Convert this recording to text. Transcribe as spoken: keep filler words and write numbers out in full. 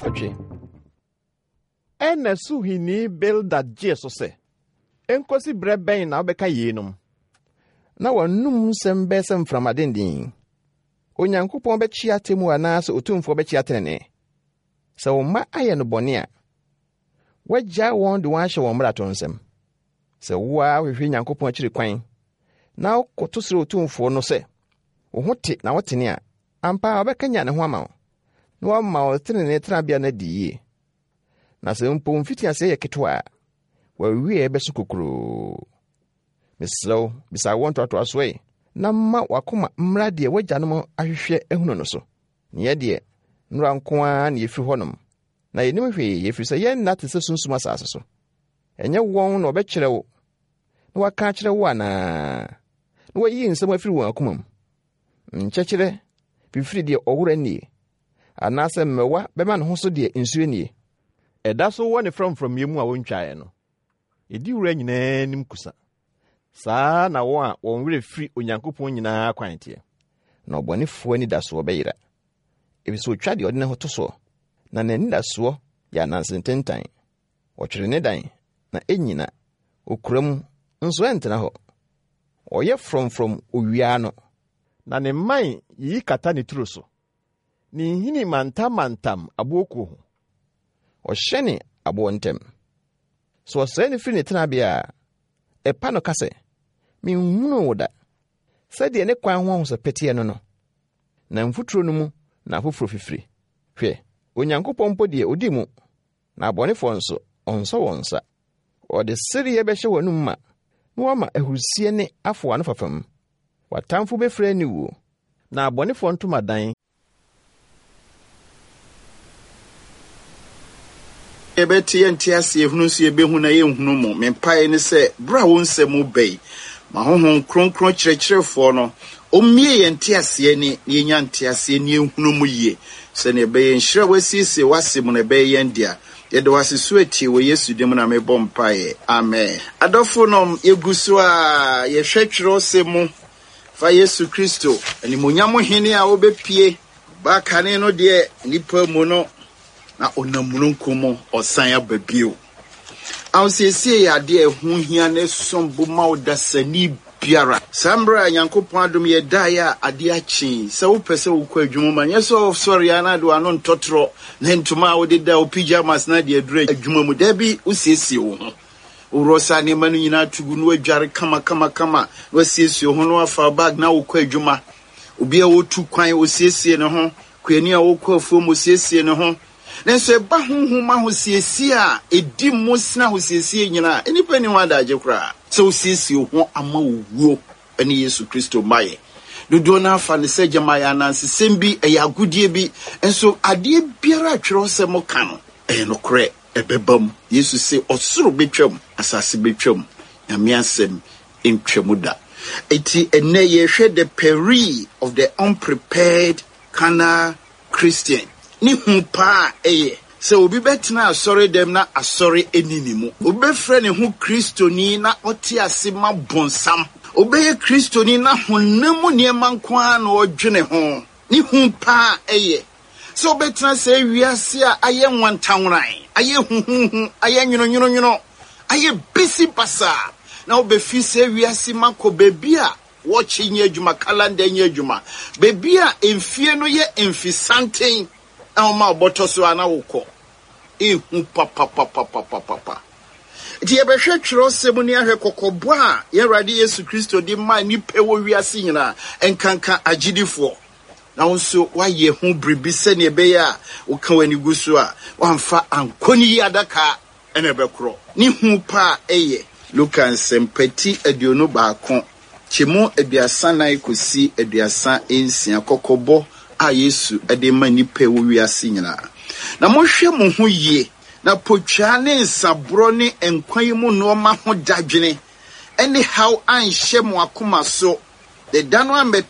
Nwɔtwe. Ɛnna Suhini Bildad gyee so sɛ, Enkosi berɛ bɛn na wobɛka yeinom? Na w'anom nsɛm bɛyɛ sɛ mframa denden. Onyankopɔn bɛkyea atemmu anaasɛ Otumfoɔ bɛkyea tenenee? Sɛ wo mma ayɛ no bɔne a, woagyaa wɔn de wɔn ahyɛ wɔn mmarato nsam. Sɛ wo ara wohwehwɛ Nyankopɔn akyiri kwan, na wokoto srɛ Otumfoɔ no sɛ, wo ho te na wotene a, ampa ara ɔbɛkanyan ne ho ama wo, na wama wo tenenee tenabea no adi yie. Na sɛ mpo mfitiaseɛ yɛ ketewa a, w'awieɛ bɛso kokuroo. Mesrɛ wo, bisa awoɔ ntoatoasoɔ yi, na ma w'akoma mmra deɛ w'agyanom ahwehwɛ ahunu no so. Na yɛ deɛ, nnora nko ara na yɛfiri hɔnom, na yɛnim hwee, ɛfiri sɛ yɛn nna te sɛ sunsum asase so. Ɛnyɛ wɔn na wɔbɛkyerɛ wo na wɔaka akyerɛ wo anaa? Na wɔayi nsɛm afiri wɔn akoma mu. Nkyɛkyerɛ fifiri deɛ ɔwora nnie, anaasɛ mmɛwa bɛma ne ho so deɛ nsuo nnie. Ɛda so wɔ ne frɔmfrɔmyɛ mu a wɔntwaeɛ no, ɛdi wura nyinaa anim kusa. Saa na wɔn a wɔn werɛ firi Onyankopɔn nyinaa kwan teɛ. Na ɔbɔnefoɔ anidasoɔ bɛyera, ɛfiri sɛ ɔtwa deɛ ɔde ne ho to soɔ, na n'anidasoɔ yɛ ananse ntentan. Ɔtwere ne dan, na ɛnnyina, ɔkura mu, nso ɛntena hɔ. Ɔyɛ frɔmfrɔm owia ano, na ne mman yiyi kata ne turo so. Ne nhini mantammantam aboɔkuo ho. Ɔhyɛne aboɔ ntam. Sɛ ɔsɛe no firi ne tenabea a, ɛpa no ka sɛ, Menhunuu wo da. Sɛdeɛ ne kwan ho ahosɛpɛ teɛ no no, na mfuturo no mu na afoforɔ fifiri. Hwɛ, Onyankopɔn mpo deɛ odi mu, na abɔnefoɔ nso, ɔnsɔ wɔn nsa. Ɔde sereɛ bɛhyɛ w'anom ma, na wama ahurusie ne afo w'ano fafam. W'atamfo bɛfiri aniwuo, na abɔnefoɔ ntomadan Yɛbɛte yɛnte aseɛ, hunu nso yɛbɛhu na yɛnhunu mu. Me mpaeɛ ne sɛ, berɛ a wo nsɛm reba yi, ma Honhom Kronkron kyerɛkyerɛfoɔ no ɔmmue yɛn nteaseɛ ani na yɛnya nteaseɛ na yɛnhunu mu yie, sɛdeɛ ɛbɛyɛ nhyira a woasiesie w'asɛm mu no ɛbɛyɛ yɛn dea. Yɛda wo ase so atie, wɔ Yesu din mu na mebɔ mpaeɛ. Amen. Adɔfonom, yɛgu so a yɛhwɛ twerɛsɛm mu fa Yesu Kristo, animuonyam Hene a ɔbɛpue ba kane no deɛ nnipa mu no, na ɔnam mununkum mu ɔsan aba bio. Ahosiesie yɛ adeɛ a ɛho hia na ɛsom bo ma ɔdasani biara. Saa mmerɛ a Nyankopɔn adom yɛ daeɛ a adeɛ akye, sɛ wopɛ sɛ wokɔ adwuma mu a, nyɛ sɛ wosɔre a na de w'ano ntɔtorɔ ne ntoma a wode da wo pyjamas na de aduru adwuma mu. Dabi, wosiesie wo ho. Woworɔ saa nneɛma no nyinaa to gu na woadware kama kama kama na wasiesie wo ho na wafa bag na wokɔ adwuma. Obi a ɔretu kwan, ɔsiesie ne ho. Kuani a ɔrekɔ afuom, ɔsiesie ne ho. Nanso ɛba honhom ahosiesie a ɛdi mu sene ahosiesie nyinaa a, nnipa nni ho adagye koraa. Sɛ wosiesie wo ho ama owuo ne Yesu Kristo mmaeɛ. Dodoɔ no ara fa no sɛ gyama ɛyɛ anansesɛm bi, ɛyɛ agodie bi. Nso adeɛ biara a twerɛsɛm ka no, ɛyɛ nokorɛ, ɛbɛba mu. Yesu se, ɔsoro bɛtwam, asase bɛtwam, Nyame asɛm ntwa mu da. Enti ɛnnɛ yɛrehwɛ the peril of the unprepared carnal Christian. Ne hu paa a ɛyɛ sɛ obi bɛtena asɔredɛm na asɔre nni ne mu. Obi bɛfrɛ ne ho Kristoni na ɔte ase ma bonsam. Obi bɛyɛ Kristoni na honam mu nneɛma nko ara na ɔdwene ho. Ne hu paa a ɛyɛ sɛ wobɛtena saa wiase a ayɛ nwantanworan, ayɛ huhuuhu, ayɛ nwononwononwono, ayɛ bisi basaa, na wobɛfi saa wiase mu akɔ baabi a wɔɔkye nyɛ adwuma, kalanda nyɛ adwuma, baabi a mfie no yɛ mfisanten na wɔma wo bɔtɔ so a na wokɔ. Ehu papapapapapapa. Nti yɛbɛhwɛ twerɛsɛm ni ahwɛ kɔkɔbɔ a yɛn Awurade Yesu Kristo de maa nnipa wɔ wiase nyinaa, nkanka agyidifoɔ. Na wo nso woayɛ ho biribi sɛnea ɛbɛyɛ a woka w'ani gu so a woamfa ankɔ ne yi adaka na ɛbɛkorɔ. Ne hu pa a ɛyɛ. Luka Nsɛmpa ti aduonu baako, kyɛmu aduasa nan kɔsi aduasa nsia, kɔkɔbɔ a Yesu de ma nnipa wɔ wiase nyinaa. Na monhwɛ mo ho yie, na potwaa ne nsaborɔ ne nkwa yi mu nnoɔma ho dadwene ne haw anhyɛ mo akoma so, na da no ammɛto